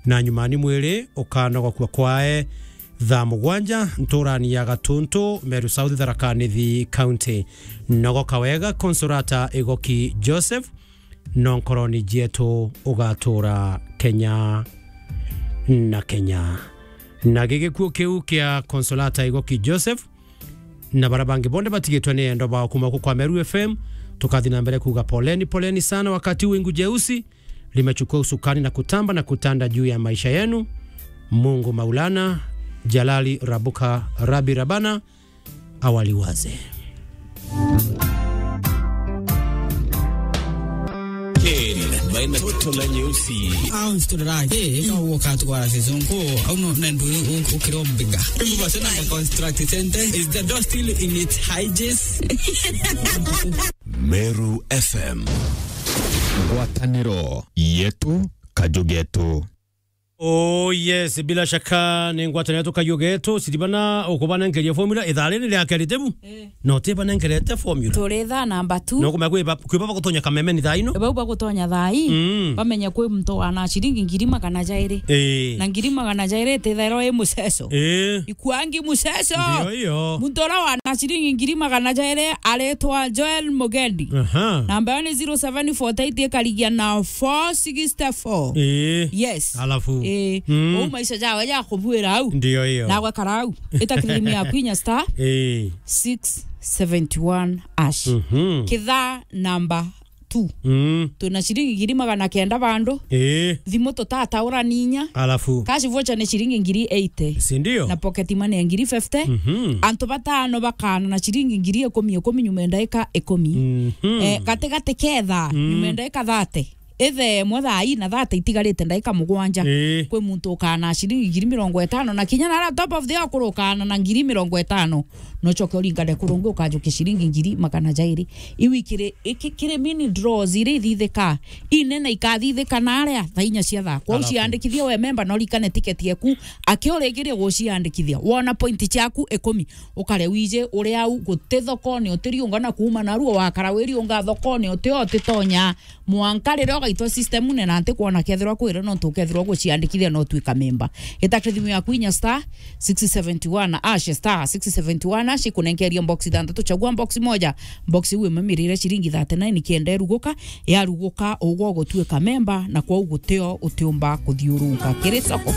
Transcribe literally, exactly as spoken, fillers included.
Na nyumani mwiri ukanogokua kwae thaa mugwanja nturani ya Gatuntu, Meru South, Tharaka Nithi County. Nogoka wega, Consolata Igoki Joseph, no nkoroni cietu ugatura Kenya na Kenya. Na gigikuo kiu kia Consolata Igoki Joseph na bara bangi bonde batigitwe ni endo bao kuma ku kwa Meru F M, tukathi na mbere kuga poleni, poleni sana. Wakati wingu jeusi limechukua usukani na kutamba na kutanda juu ya maisha yenu. Mungu Maulana, Jalali Rabuka Rabi Rabana, awaliwaze. Ken, maina toto na nyeusi. Au nsiturira, eh, eka uoka twara season ko, au no, na ndu u-, ukiro mbiga. Ndu basi na construct center, is the door still in its hinges? Meru F M. Ngwataniro yetu, kaju getu. Oh yes, bila shaka ni ngwataniro yetu, kaju getu. Siribana ukubanenkeria formula, ithaa riri ria keri tebu. Eh. No tibanenkerete formula. Turi thaa namba two. No kumenya kwiba, kwiba bagutonya kamemeni thaa ino. Bau bagutonya thaa ii, mm, bamenye kwi muntu wana ciringi ngiri magana jairi. Eh. Na ngiri magana jairi itithairwa i muceco. Eh. Ikwangi muceco. Ndio hiyo. Muntu uria wana ciringi ngiri magana jairi aritwa Joel Mugendi. Aha. Namba yo ni zero seven forty eight ikarigia na four sixty four. Eh. Yes. Alafu. Eh. Mm. Uu maisha jawe ja kubuira au. Ndio hiyo. Na gwekara au. Ita kirimu yaku inya star, eh, six seventy one hash. Mhm. Kithaa namba two. Mm. Twina ciringi ngiri magana kenda bandu. Eh. Thimu tutataurani inya. Alafu. Cash voucher ni ciringi ngiri eighty. Si ndio? Na pocket money ya ngiri fifty. Mhm. Antu batano bakana na ciringi ngiri ikumi ikumi nyuma ya ndaika ikumi. Mhm. Eh, gatigati ketha, mm, nyuma ya ndaika thirty. Ithe imwe thaa ii na thirty itigarite ndaika mugwanja. Ii. Kwi muntu ukana ciringi ngiri mirongo itano, na kinya na top of the hour kuri ukana na ngiri mirongo itano. No coke uringane kurungi ukajukia ciringi ngiri magana jairi. Iu ikiri, iki-, kiri mini draws iria ithithika. Inene ikathithika na aria thaa inya cia thaa. Kwou alafu ciandikithia we memba, na urikane tiketi yaku. Aki urikirie guciandikithia, wona point ciaku ikumi, ukare wiji uri au, guti thokone utiriunga na kuuma naruo, wakara wiriunga thokone uti o utitonya. Mwanka riria ugaitwa system-une na ntikwona kethirwa kwira, nontu ukethirwa guciandikithia na utwika memba. Gita kithimu yaku inya star six seventy one hash, star six seventy one hash, ikunenkeria box ithanthatu, chagua box moja. Box iu imwe mirire ciringi thirty nine kenda iruguka, yaruguka ugwe ugutwika memba, na kwou gutio utiumba kuthiurunka kiri soko.